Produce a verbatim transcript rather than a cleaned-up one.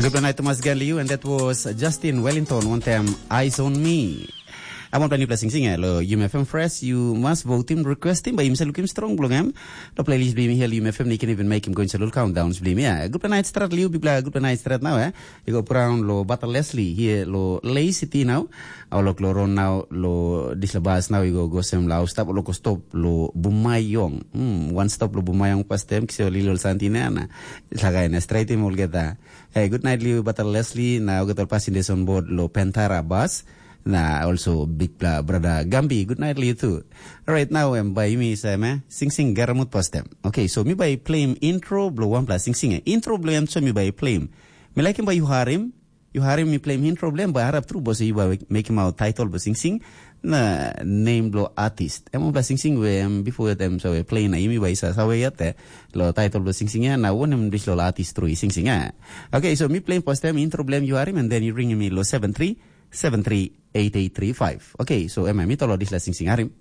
Good night, Thomas Ganliu, and that was Justin Wellington, one time Eyes on Me. I want to play sing sing lo U M F M Fresh. You must vote him, request him, but him say look him strong belong him. The playlist blim here U M F M, you can even make him go into little countdowns blim. Yeah, good night strat liu, big good night strat now, eh? You go brown lo Butter Leslie here lo Lay City now. Our look lo run now lo disla bus now you go go sem lau stop lo ko stop lo Bumayong. Hmm, one stop lo Bumayong pas tem kisio lilo santinana. It's like I straight him all get that. Hey, good night liu Butter Leslie. Now get all passengers on board lo Pantara bus. Na also big bla brother Gambi, good night liu too. Right now em by me say me sing sing garamut pas tem. Okay, so me by play him intro blo one plus sing sing. Intro blo em so me by play him. Me like him by you harim. You harim me play him intro blo em by harap tru bos you by make him out title blo sing sing. Na name blo artist. Em bla sing sing we em before them so we play na imi by sa sa we yet eh. Lo title blo sing sing ya na one em dis lo artist tru sing sing ya. Okay, so me play him first time intro blo em you harim and then you ring me lo seven three seven three eight eight three five. Okay, so em mi tolo dis la sing sing harim.